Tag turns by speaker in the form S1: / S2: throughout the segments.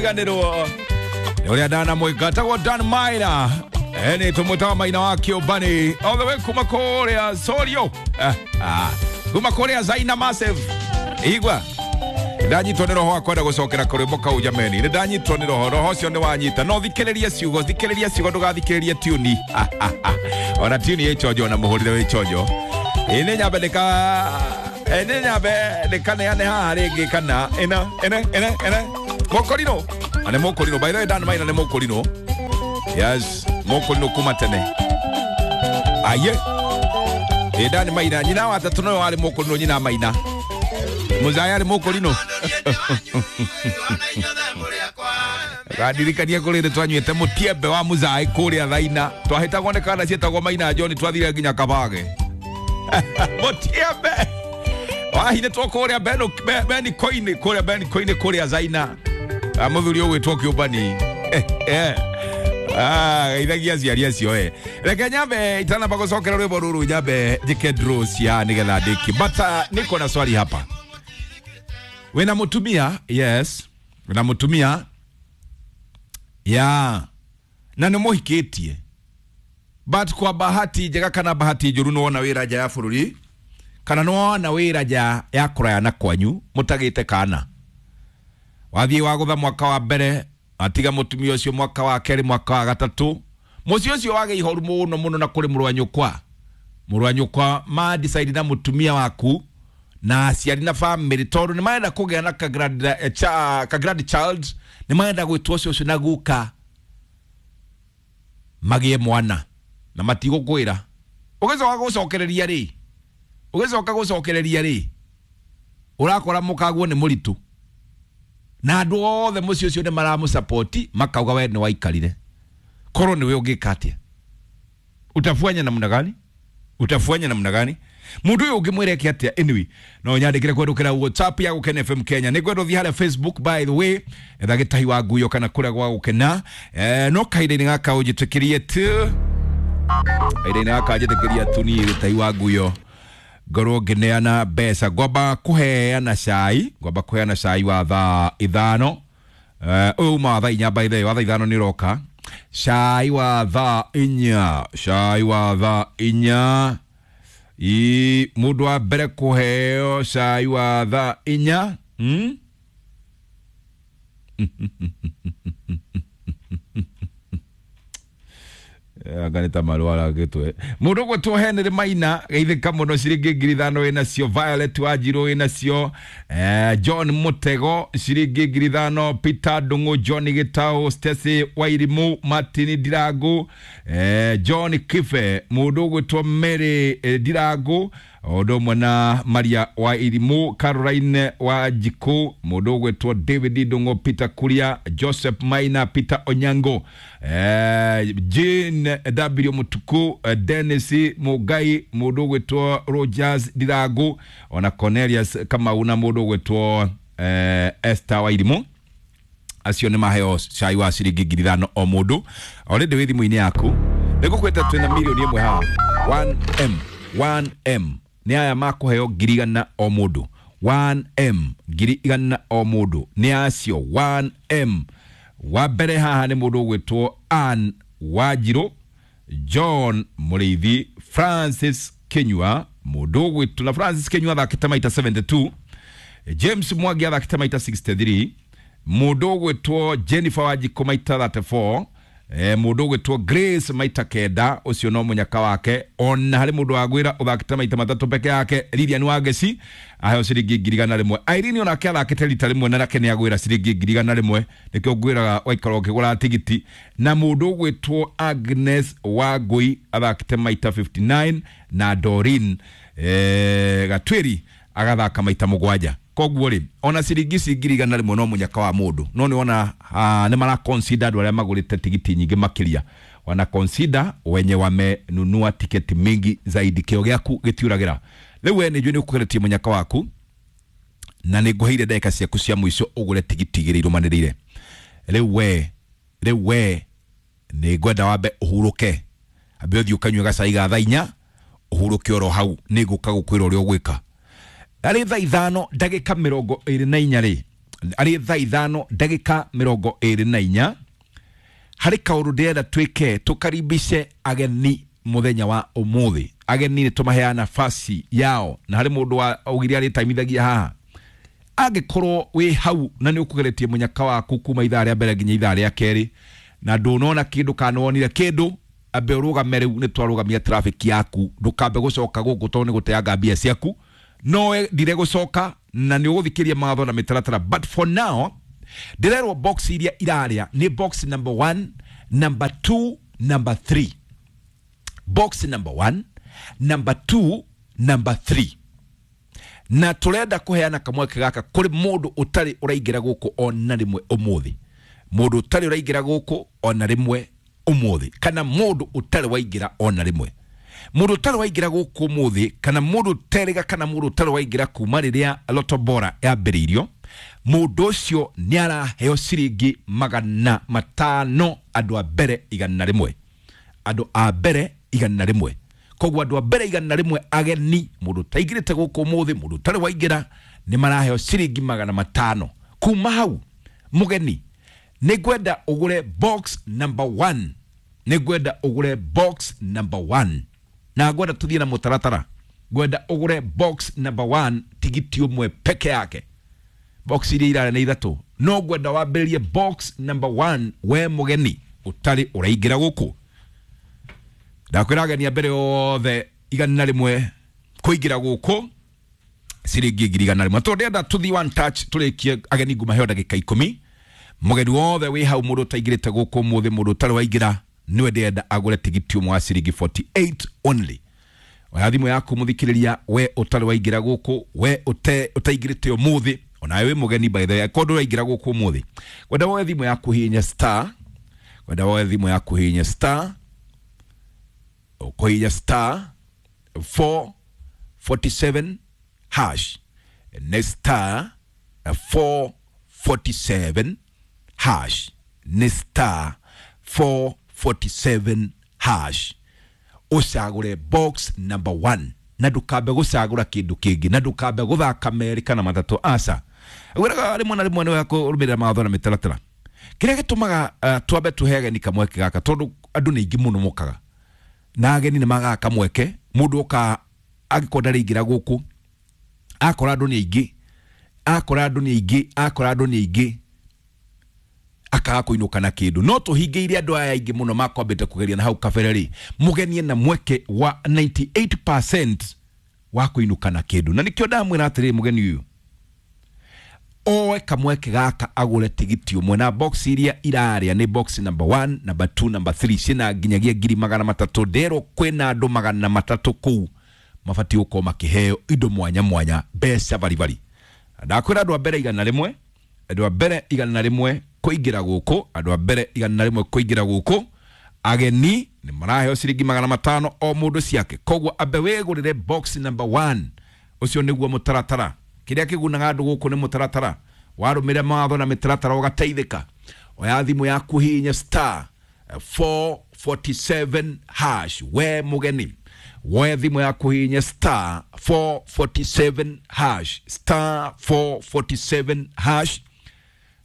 S1: Ganĩrwo nĩ ũrĩa ndanamwĩka tagwo Dan Maina, nĩ tũmwĩtaga Maina wa Kĩũmbani all the way kuma kũrĩa Sorio, kuma kũrĩa Zaina Massive. Igua ndanyitwo nĩ roho wa kwenda gũcokera kũrwĩmbo kau, jameni, nĩ ndanyitwo nĩ roho, roho ũcio nĩ wanyita. No thikĩrĩrie ciugo, thikĩrĩrie ciugo, ndũgathikĩrĩrie tuni. Ona tuni ĩ chonjo, ona mũhũrĩre wĩ chonjo. Ĩ nĩ nyambe ndĩka, nĩ nyambe ndĩkaneane haha rĩngĩ kana ĩna ĩne ĩne ĩne mũkũrinũ na nĩ mũkũrinũ. By the way, Dan Maina nĩ mũkũrinũ, yes, mũkũrinũ kuma tene. Aye, ĩ Dan Maina nyina wa tatũ noyo warĩ mũkũrinũ, nyina Maina Muzaya arĩ mũkũrinũ. Gandirikania kũrĩ rĩ twanyuĩte mũtiembe wa Muzai kũrĩa Thaina, twahĩtagwo nĩ kana ciĩtagwo Maina John, twathire nginya Kabage mũtiembe wahinĩtwo kũrĩa Benikoinĩ, kũrĩa Benikoinĩ, kũrĩa Zaina. Mũthuri ũgwĩtwo Kĩũmbani geithagia aciari acio. Reke nyambe itanamba gũcokera rwĩmbo rũrũ, nyambe njĩke draw cia nĩgetha ndĩkie, but niko na swali hapa. Wĩna mũtumia? Yes, wĩna mũtumia ya na nĩ mũhikĩtie, but kwa bahati njega kana bahati njũru nĩ wona wĩra nja ya bũrũri kana nĩ wona wĩra nja ya kũraya na kwanyu, mũtagĩte kana wathiĩ wagũtha mwaka wa mbere, atiga mũtumia ũcio mwaka wa kerĩ, mwaka wa gatatũ, mũciĩ ũcio wagĩa ihoru mũno mũno na kũrĩ mũrũ wa nyũkwa, mũrũ wa nyũkwa ma decide na mũtumia waku na aciari na family, tondũ nĩ marenda kũgĩa na ka grand, ka grandchild, nĩ marenda gwĩtwo cũcũ na guka, magĩe mwana na matigũkwĩra. Ũgĩcoka gũcokereria rĩ, ũgĩcoka gũcokereria rĩ, ũrakora mũkaguo nĩ mũritũ na andũ othe mũciĩ ũcio nĩ maramũsapoti, makauga we nĩ waikarire. Korwo nĩwe ũngĩka atĩa? Utafanya namna gani? Utafanya namna gani? Mundu uyu ũngĩmwĩra eke atĩa? Anyway, no nyandĩkĩre kwendũkĩra WhatsApp ya Gũkena FM Kenya. Nĩ ngwenda ũthiĩ harĩa Facebook, by the way, etha Gĩtahi wa Nguyo kana kũrĩa gwa Gũkena. No kahinda-inĩ gaka ũnjĩtĩkĩrie tu, kahinda-inĩ gaka njĩtĩkĩria tu niĩ Gĩtahi wa Nguyo ngorwo ngĩneana mbeca. Ngwamba kũheana cai, ngwamba kũheana cai wa thaa 5. Ũyũ uma wa thaa 4, by the way, wa thaa 5 nĩ ũroka. Cai wa thaa 4, cai wa thaa 4. I mũndũ wa mbere kũheo cai wa thaa 4, Anga nĩ ta marwara gĩtwe. Mũndũ ũgwĩtwo Henry Maina, geithĩka mũno, ciringi 5,000 wĩnacio. Violet Wanjirũ wĩnacio, John Mũtego ciringi 5,000, Peter Ndung'u, John Gĩtaũ, Stacy Wairimu, Martin Ndirangu, John Kibe, mũndũ ũgwĩtwo Mary Ndirangu, o ũndũ ũmwe na Maria wa Irimu, Caroline wa Njikũ, mũndũ ũgwĩtwo David Ndung'u, Peter Kuria, Joseph Maina, Peter Onyango, Jane W Mutuku, Dennis Mugai, mũndũ ũgwĩtwo Rogers Ndirangu, ona Cornelius Kamau na mũndũ ũgwĩtwo Esther wa Irimu. Acio nĩ maheo cai wa ciringi 5,000 o mũndũ. Already wĩ thimũ-inĩ yaku, nĩ ngũkwĩte twĩna mirioni 1 haha, 1M, 1M. Nĩ aya makũheo 100,000 o mũndũ, 1M, 100,000 o mũndũ. Nĩ acio 1M. Wa mbere haha nĩ mũndũ ũgwĩtwo Ann Wanjirũ, John Mũrĩithi, Francis Kinyua, mũndũ ũgwĩtwo na Francis Kinyua athakĩte maita 72, James Mwangi athakĩte maita 63, mũndũ ũgwĩtwo Jennifer Wanjikũ maita 34, mũndũ ũgwĩtwo Grace maita 9, ũcio no mũnyaka wake. Ona harĩ mũndũ wagwĩra ũthakĩte maita 3 peke yake, Lilian Wangeci, aheo ciringi 100,000. Irene onake athakĩte rita rĩmwe na nake nĩ agwĩra ciringi 100,000. Nĩkĩo ngwĩraga waikara ũkĩgũra tigiti. Na mũndũ ũgwĩtwo Agnes Wangui athakĩte maita 59, na Doreen Gatwĩri agathaka maita 7. Koguo rĩ, ona ciringi ici 100,000 no mũnyaka wa mũndũ, no nĩ wona nĩ mara consider andũ arĩa magũrĩte tigiti nyingĩ makĩria, wana consider wenye wamenunua tiketi mingi zaidi. Kĩo gĩaku gĩtiũragĩra. Rĩu we nĩ njũĩ nĩ ũkũgeretie mũnyaka waku na nĩ ngũheire ndagĩka ciaku cia mũico ũgũre tigiti 2 irũmanĩrĩire. Rĩu we nĩ ngwenda wambe ũhurũke, ambe ũthiĩ ũkanyue gacai ga thaa 4, ũhurũke oro hau, nĩ ngũka gũkwĩra ũrĩa ũgwĩka. Arĩ thaa 5 ndagĩka 24 rĩ. Arĩ thaa 5 ndagĩka 24 harĩ kaũndũ ndĩrenda twĩke tũkaribishe ageni mũthenya wa ũmũthĩ. Ageni nĩ tũmaheaga nafasi yao, na harĩ mũndũ wa augire arĩtaimithagia haha. Angĩkorwo wĩ hau na nĩ ũkũgeretie mũnyaka waku kuma ithaa rĩa mbere nginya ithaa rĩa kerĩ na ndũnona kĩndũ kana wonire kĩndũ, ambe ũrũgame rĩu, nĩ twarũgamia traffic yaku, ndũkambe gũcoka gũkũ tondũ nĩ gũteanga mbia ciaku. No ndire gũcoka na nĩ ũgũthikĩria mawatho na mĩtaratara, but for now ndĩrerwo box iria irarĩa nĩ box number 1, number 2, number 3. Box number 1, number 2, number 3. Na tũrenda kũheana kamweke gaka kũrĩ mũndũ ũtarĩ ũraingĩra gũkũ ona rĩmwe ũmũthĩ, mũndũ ũtarĩ ũraingĩra gũkũ ona rĩmwe ũmũthĩ, kana mũndũ ũtarĩ waingĩra ona rĩmwe, mũndũ ũtarĩ waingĩra gũkũ ũmũthĩ, kana mũndũ ũterĩga, kana mũndũ ũtarĩ waingĩra kuma rĩrĩa Lotto Bora yambĩrĩirio, mũndũ ũcio nĩ araheo ciringi 500 andũ a mbere 100, andũ a mbere 100. Koguo andũ a mbere 100 ageni, mũndũ ũtaingĩrĩte gũkũ ũmũthĩ, mũndũ ũtarĩ waingĩra, nĩ maraheo ciringi 500. Kuma hau mũgeni, nĩ ngwenda ũgũre box number 1, nĩ ngwenda ũgũre box number 1, na ngwenda tũthiĩ na mũtaratara. Ngwenda ũgũre box number 1 tigiti ũmwe peke yake. Box iria irarĩa nĩ ithatũ, no ngwenda wambĩrĩrie box number 1 we mũgeni ũtarĩ ũraingĩra gũkũ. Ndakwĩra ageni a mbere othe 100 kũingĩra gũkũ ciringi 100,000. Tondũ ndĩrenda tũthiĩ one touch tũrĩkie ageni ngũmaheo ndagĩka 10. Mũgeni wothe wĩ hau, mũndũ ũtaingĩrĩte gũkũ ũmũthĩ, mũndũ ũtarĩ waingĩra, nĩwe ndĩrenda agũre tigiti ũmwe wa ciringi 48 only. Oya thimũ yaku mũthikĩrĩria, we ũtarĩ waingĩra gũkũ, we ũtaingĩrĩte ũmũthĩ, onawe wĩ mũgeni by the way, akorwo ndũraingĩra gũkũ ũmũthĩ, kwenda woe thimũ yaku hihinya star, kwenda woe thimũ yaku hihinya star, ũkũhihinya star 447 hash, nĩ star 447 hash, nĩ star 447 hash, ũcagũre box number 1, na ndũkambe gũcagũra kĩndũ kĩngĩ, na ndũkambe gũthaka merĩ kana matatũ, aca. Wĩraga rĩmwe na rĩmwe nĩ wega kũrũmĩrĩra mawatho na mĩtaratara. Kĩrĩa gĩtũmaga twambe tũhe ageni kamweke gaka, tondũ andũ nĩ aingĩ mũno mokaga na ageni nĩ magaga kamweke. Mũndũ oka angĩkorwo ndarĩingĩra gũkũ, akora andũ nĩ aingĩ, akora andũ nĩ aingĩ, akora andũ nĩ aingĩ, akaga kũinũka na kĩndũ. No tũhingĩire andũ aya aingĩ mũno makwambĩte kũgeria na hau kabere rĩ, mũgeni ena mweke wa 98% wa kũinũka na kĩndũ. Na nĩkĩo ndamwĩra atĩrĩrĩ, mũgeni ũyũ oe kamweke gaka agũre tigiti ũmwe, na box iria irarĩa nĩ box number 1, number 2, number 3, ciĩna nginyagia 300,000. Nderwo kwĩna andũ 300 kũu mabatiĩ gũkorwo makĩheo indo mwanya mwanya, mbeca baribari. Ndakwĩra andũ a mbere 100, andũ a mbere 100 kũingĩra gũkũ, andũ a mbere 100 kũingĩra gũkũ, ageni nĩ maraheo ciringi 500 o mũndũ ciake. Koguo ambe wĩgũrĩre box number 1, ũcio nĩguo mũtaratara. Kĩrĩa kĩgunaga andũ gũkũ nĩ mũtaratara, warũmĩrĩra mawatho na mĩtaratara ũgateithĩka. Oya thimũ yaku hihinya star 447 hash, we mũgeni woe thimũ yaku hihinya star 447 hash, star 447 hash.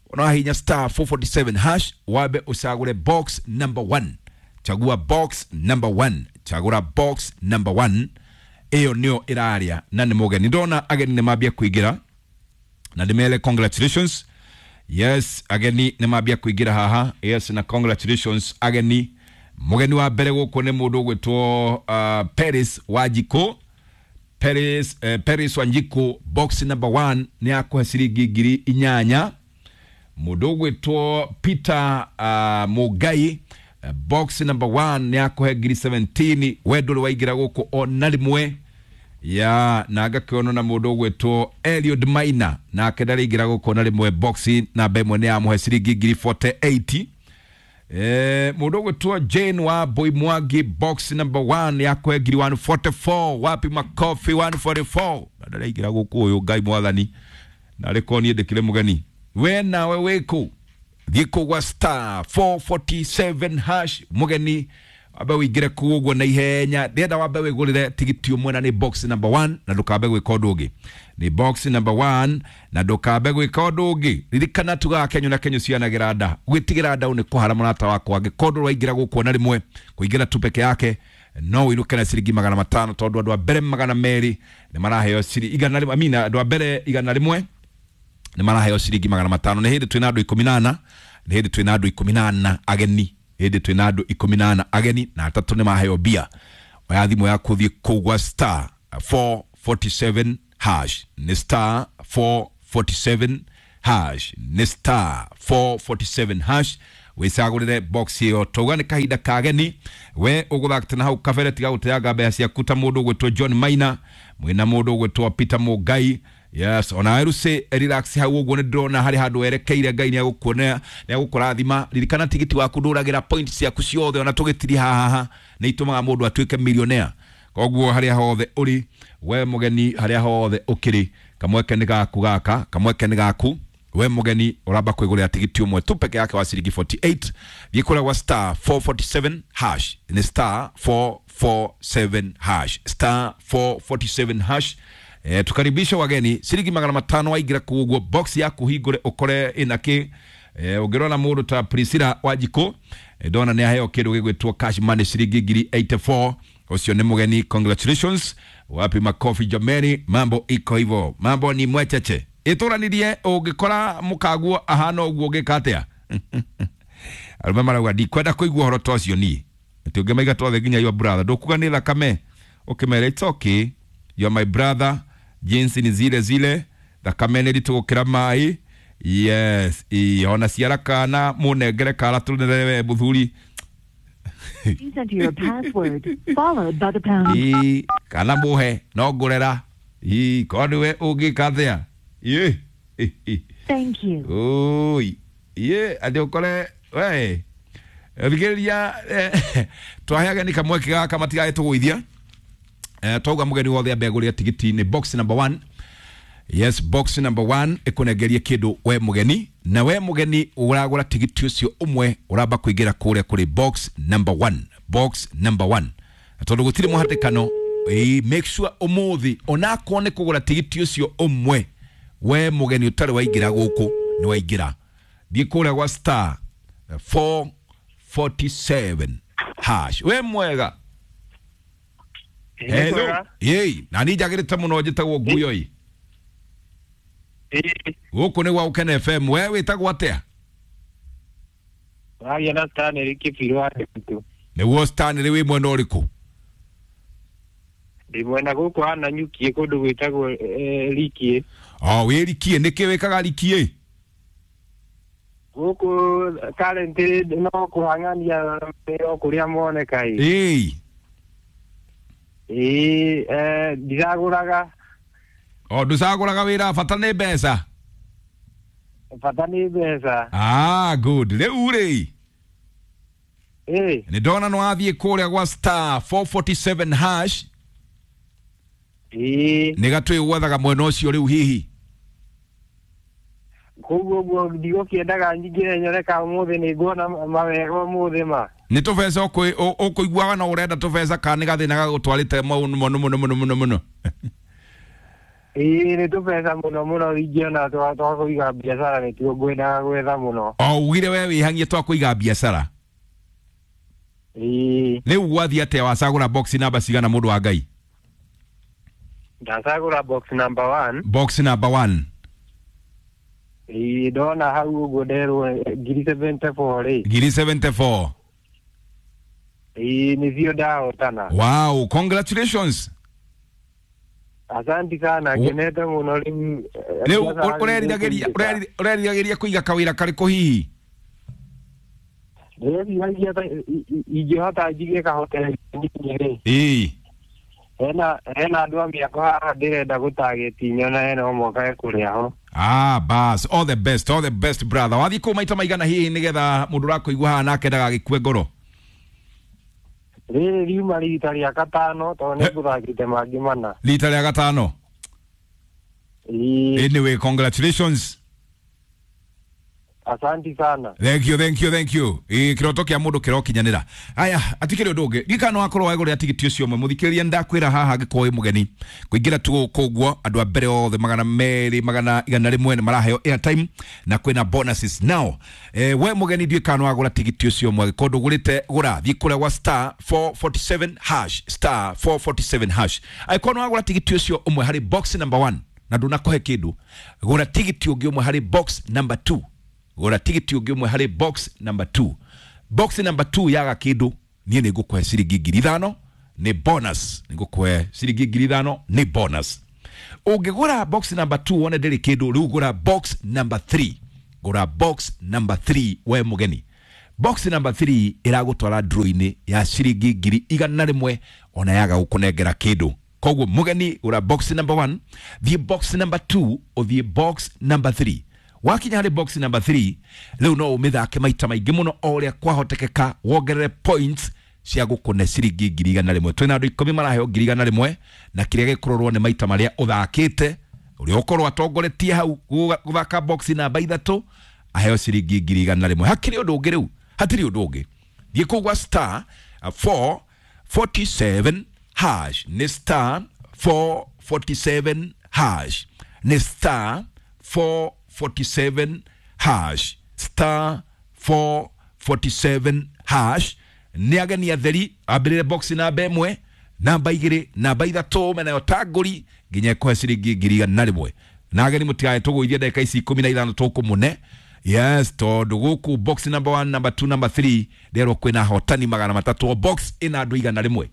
S1: Unahinya star 447 hash, wabe usagure box number 1. Chagua box number 1, chagura box number 1, ĩyo nĩyo ĩraria na nĩ mũgeni. Ndona ageni nĩ mambia kũingĩra na ndĩmere congratulations. Yes, ageni nĩ mambia kũingĩra haha. Yes, na congratulations ageni. Mũgeni wa mbere gũkũ nĩ mũndũ ũgwĩtwo Paris Wanjikũ. Paris Wanjikũ, box number 1 nĩ akũhe ciringi 8,000. Mũndũ ũgwĩtwo Peter Mugai, box number 1 nĩ akũhe 17,000. We ndũrĩ waingĩra gũkũ ona rĩmwe ya, na ngakĩonwo na mũndũ ũgwĩtwo Eliud Maina, nake ndarĩingĩra gũkũ ona rĩmwe, box namba 1 nĩ yamũhe ciringi 48,000. Mũndũ ũgwĩtwo Jane wa Boy Mwangi, box number 1 ya kũhe 144,000. Wapi makofi 144? Na ndaraingĩra gũkũ ũyũ, Ngai mwathani, na arĩ korwo niĩ ndĩkĩrĩ mũgeni. We nawe wĩkũ? Thiĩ kũu gwa star 447 hash, mũgeni Wambe wĩingĩre kũu ũguo na ihenya. Ndĩrenda wambe wĩgũrĩre tigiti ũmwe na nĩ box number 1 na ndũkambe gwĩka ũndũ ũngĩ. Nĩ box number 1 na ndũkambe gwĩka ũndũ ũngĩ. Ririkana tugaga Kenyo na Kenyo cianagĩra nda. Gwĩtigĩra nda nĩ kũhara mũrata wakwa. Angĩkorwo ndũraingĩra gũkũ ona rĩmwe, kũingĩra tu peke yake no wĩinũke na ciringi 500 tondũ andũ a mbere 200 nĩ maraheo ciringi 100, I mean, andũ a mbere 100 nĩ maraheo ciringi 500. Nĩ hĩndĩ twĩna andũ 14, nĩ hĩndĩ twĩna andũ 14 ageni, hĩndĩ twĩna andũ 14 ageni na atatũ nĩ maheo mbia. Oya thimũ yaku ũthiĩ kũu gwa star 447 hash, nĩ star 447 hash, nĩ star 447 hash, wĩcagũrĩre box ĩyo. Tauga nĩ kahinda ka ageni, we ũgũthakĩte na hau kabere, tiga gũteanga mbeca ciaku ta mũndũ ũgwĩtwo John Maina, mwĩna mũndũ ũgwĩtwo Peter Mũngai. Yes, ona Eruse relax hau ũguo nĩ ndĩrona harĩ handũ werekeire. Ngai nĩ agũkuonea, nĩ agũkũrathima. Ririkana tigiti waku ndũragĩra point ciaku ciothe, ona tũgĩtiri haha nĩ itũmaga mũndũ atuĩke millionaire. Koguo harĩa hothe ũrĩ we mũgeni, harĩa hothe ũkĩrĩ, kamweke nĩ gaku gaka, kamweke nĩ gaku we mũgeni, ũramba kwĩgũrĩra tigiti ũmwe tu peke yake wa ciringi 48. Thiĩ kũrĩa gwa star 447 hash, nĩ star 447 hash, star 447 hash. Tukaribisha wageni ciringi 500 waingĩra kũu ũguo box yaku hingũre ũkore ĩna kĩ. Ũngĩrora mũndũ ta Priscilla Wanjikũ, ndona nĩ aheo kĩndũ gĩgwĩtwo cash money ciringi 1084. Ũcio nĩ mũgeni, congratulations. Wapi makofi jameni, mambo iko hivyo, mambo ni mwecheche. Ĩtũranirie ũngĩkora mũkaguo ahana ũguo ũngĩka atĩa? Arũme marauga ndikwenda kũigua ũhoro ta ũcio niĩ. Atĩ ũngĩmaiga twothe nginya your brother, ndũkuga nĩ thakame, ũkĩmera it's okay, you are my brother, jinsi ni zile zile, thakame nĩ ritũ gũkĩra maĩ. Yes, ona ciara kana mũnengere kara tũnere we mũthuri.
S2: Please enter your password followed by the pound.
S1: Ĩ, kana mũhe no ngũrera. Ĩ, korwo nĩwe ũngĩka atĩa? Ĩ, ĩ,
S2: Thank you.
S1: oi ye atĩ ũkore we thikĩrĩria, twahe ageni kamweke gaka matigagĩtũgũithia. Twauga mũgeni wothe ambe agũrĩre tigiti nĩ box number 1. Yes, box number 1 ĩkũnengerie kĩndũ we mũgeni, na we mũgeni ũragũra tigiti ũcio ũmwe ũramba kũingĩra kũrĩa kũrĩ box number 1, box number 1, na tondũ gũtirĩ mũhatĩkano, make sure ũmũthĩ onakorwo nĩ kũgũra tigiti ũcio ũmwe, we mũgeni ũtarĩ waingĩra gũkũ nĩ waingĩra. Thiĩ kũrĩa gwa star 447 hash. We mwega? Hello. Yei, na niĩ njagĩrĩte mũno, njĩtagwo Nguyoi. Gũkũ nĩ gwa Gũkena FM. We wĩtagwo atĩa?
S3: Wagĩa na Stanley Kĩbirũ wa Nditũ.
S1: Nĩguo Stanley, wĩ mwena ũrĩkũ?
S3: Ndĩ mwena gũkũ wa Nanyuki kũndũ gwĩtagwo Rikie.
S1: O wĩ Rikie, nĩkĩ wĩkaga Rikie?
S3: Gũkũ currently no kũhang'ania o kũrĩa moneka ĩ.
S1: Ĩĩ.
S3: Ĩĩ, ndiragũraga.
S1: O ndũcagũraga wĩra, bata nĩ mbeca.
S3: Bata nĩ mbeca.
S1: Ah, good. Rĩu rĩ,
S3: Ĩĩ.
S1: nĩ ndona nĩ wathiĩ kũrĩa gwa star 447 hash.
S3: Ĩĩ.
S1: Nĩ gatwĩ gwethaga mwena ũcio rĩu hihi?
S3: Koguo ũguo ndigũkĩendaga nyingĩre nyone ka ũmũthĩ nĩ nguona mawega ũmũthĩ ma.
S1: Nĩ tũbeca ũkũiguaga no ũrenda tũbeca kana nĩ gathĩna gagũtwarĩte mũno mũno mũno mũno mũno mũno?
S3: Ĩĩ, nĩ tũbeca mũno mũno ingĩona twa kũiga biacara nĩtuo ngwendaga gwetha mũno.
S1: O ugire we wĩhang'ie twa kũiga biacara.
S3: Ĩĩ.
S1: Rĩu gwathiĩ atĩa, wacagũra box namba cigana mũndũ wa Ngai?
S3: Ndacagũra box number 1.
S1: Box number 1.
S3: Ĩĩ, ndona hau ũguo nderwo 1074 rĩ.
S1: 1074.
S3: Ĩĩ, nĩcio ndahotana.
S1: Wow, congratulations.
S3: Asanti sana, ngenete mũno rĩu.
S1: Rĩu ũreriragĩria kũiga kawĩra karĩkũ hihi?
S3: Ndĩreciragia ingĩhota njige kahoteri rĩ.
S1: Ĩĩ.
S3: Hena andũ a mĩako haha ndĩrenda gũtageti nyona hena ũmwe ekũrĩa ho.
S1: Ah, bas, all the best, all the best brother. Wathiĩ kũu maita maigana hihi nĩgetha mũndũ ũrakũigua haha nake ndagagĩkue ngoro?
S3: Rĩrĩ riuma rita rĩa gatano tondũ nĩ ngũthakĩte mangĩ mana.
S1: Rita rĩa gatano?
S3: Ĩĩ.
S1: Anyway, congratulations.
S3: Asanti sana.
S1: Thank you, thank you, thank you. Ĩ kĩroto kĩa mũndũ kĩrokinyanĩra. Aya, atikĩrĩ ũndũ ũngĩ. Ririkana wakorwo wagũrĩra tigiti ũcio ũmwe. Mũthikĩrĩria ndakwĩra haha angĩkorwo wĩ mũgeni. Kũingĩra tu gũkũ ũguo andũ a mbere othe 200 101 nĩ maraheo airtime na kwĩna bonuses. Now, we mũgeni ndiũĩ kana wagũra tigiti ũcio ũmwe. Angĩkorwo ndũgũrĩte gũra, thiĩ kũrĩa gwa star 447 hash, star 447 hash. Angĩkorwo nĩ wagũra tigiti ũcio ũmwe harĩ box number 1 na ndũnakũhe kĩndũ, gũra tigiti ũngĩ ũmwe harĩ box number 2. Gũra tigiti ũngĩ ũmwe harĩ box number 2. Box number 2 yaga kĩndũ niĩ nĩ ngũkũhe ciringi 5,000 nĩ bonus. Nĩ ngũkũhe ciringi 5,000 nĩ bonus. Ũngĩgũra box number 2 wone ndĩrĩ kĩndũ, rĩu gũra box number 3. Gũra box number 3 we mũgeni. Box number 3 ĩragũtwara draw-inĩ ya ciringi 100,000 ona yaga gũkũnengera kĩndũ. Koguo mũgeni gũra box number 1, thiĩ box number 2, ũthiĩ box number 3. Wakinya harĩ box number 3 rĩu no ũmĩthake maita maingĩ mũno o ũrĩa kwahotekeka wongerere points cia gũkũne ciringi 100,000. Twĩna andũ 10 maraheo 100,000 na kĩrĩa gĩkũrorwo nĩ maita marĩa ũthakĩte, ũrĩa ũkorwo atongoretie hau gũthaka box namba 3 aheo ciringi 100,000. Hakĩrĩ ũndũ ũngĩ rĩu, hatirĩ ũndũ ũngĩ. Thiĩ kũu gwa star 447 hash, nĩ star 447 hash, nĩ star 447 hash, star 447 hash. Nĩ ageni atheri ambĩrĩre box namba 1, namba 2, namba 3 menayo tangũri nginya ĩkũhe ciringi 100,000. Na ageni mũtigae tũgũithie ndagĩka ici 15 tũkũmũne. Yes, tondũ gũkũ box number 1, number 2, number 3 nderwo kwĩna ahotani 300, o box ĩna andũ 100.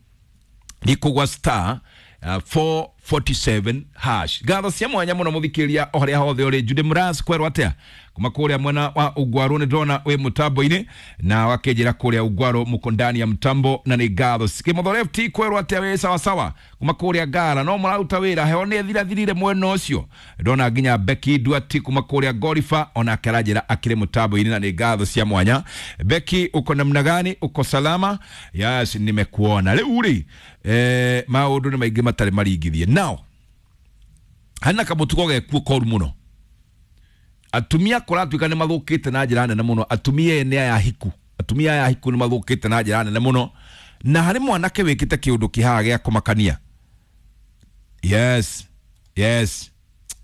S1: Nĩ kũgwa star 447 hash. Ngatho cia mwanya mũno mũthikĩrĩria o harĩa hothe ũrĩ. Jude Mras kwerwo atĩa kuma kũrĩa mwena wa Ugwaru nĩ ndĩrona wĩ mũtambo-inĩ na wakĩnjĩra kũrĩa Ugwaru mũko ndani ya mtambo na nĩ ngatho. Kĩmotho Left kwerwo atĩa wĩ sawa sawa kuma kũrĩa Ngara no mũraruta wĩra heho nĩ ĩthirathirire mwena ũcio. Ndona nginya Becky Duati kuma kũrĩa Gorifa onake aranjĩra akĩrĩ mũtambo-inĩ na nĩ ngatho cia mwanya. Becky uko namna gani? Uko salama? Yes, nimekuona. Rĩu rĩ maũndũ nĩ maingĩ matarĩ maringithie. Now hana kamũtugo gekuo koru mũno. Atumia kũratuĩka nĩ mathũkĩte na njĩra nene mũno. Atumia ene aya hiku, atumia aya hiku nĩ mathũkĩte na njĩra nene mũno. Na harĩ mwanake wĩkĩte kĩũndũ kĩhaha gĩa kũmakania. Yes, yes,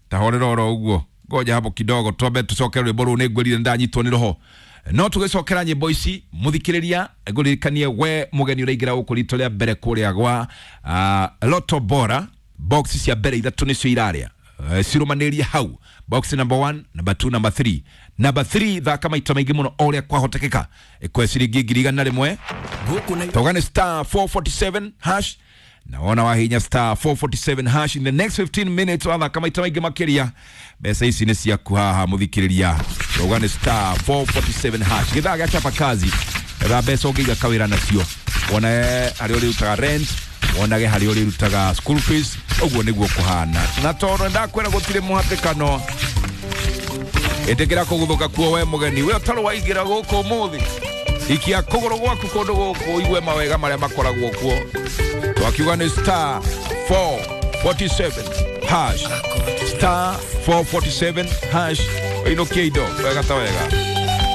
S1: tahorera oro ũguo, ngoja hapo kidogo twambe tũcoke rwĩmbo rũu nĩ ngwĩrire ndanyitwo nĩ roho. No tũgĩcokera nyĩmbo ici mũthikĩrĩria ngũririkanie we mũgeni ũraingĩra gũkũ rito rĩa mbere kũrĩa gwa Lotto Bora. Box cia mbere ithatũ nĩcio irarĩa cirũmanĩrie hau, box number 1, number 2, number 3. Number 3 thaka maita maingĩ mũno o ũrĩa kwahotekeka ĩkũhe ciringi 100,000. Tauga nĩ star 447 hash. Naona wahinya star 447 hash in the next 15 minutes wathaka maita maingĩ makĩria mbeca ici nĩ ciaku haha mũthikĩrĩria. Tauga nĩ star 447 hash. Gĩthaa gĩa chapa kazi etha mbeca ũngĩiga kawĩra nacio, wone harĩa ũrĩrutaga rent, wonage harĩa ũrĩrutaga school fees. Ũguo nĩguo kũhana. Na tondũ ndakwĩra gũtirĩ mũhatĩkano, ĩtĩkĩra kũguthũka kuo we mũgeni. We ũtarĩ waingĩra gũkũ ũmũthĩ, ikia kũgũrũ gwaku kũndũ gũkũ ũigue mawega marĩa makoragwo kuo. Twakiuga nĩ star 447 hash, star 447 hash. Ũinũkie indo wega ta wega.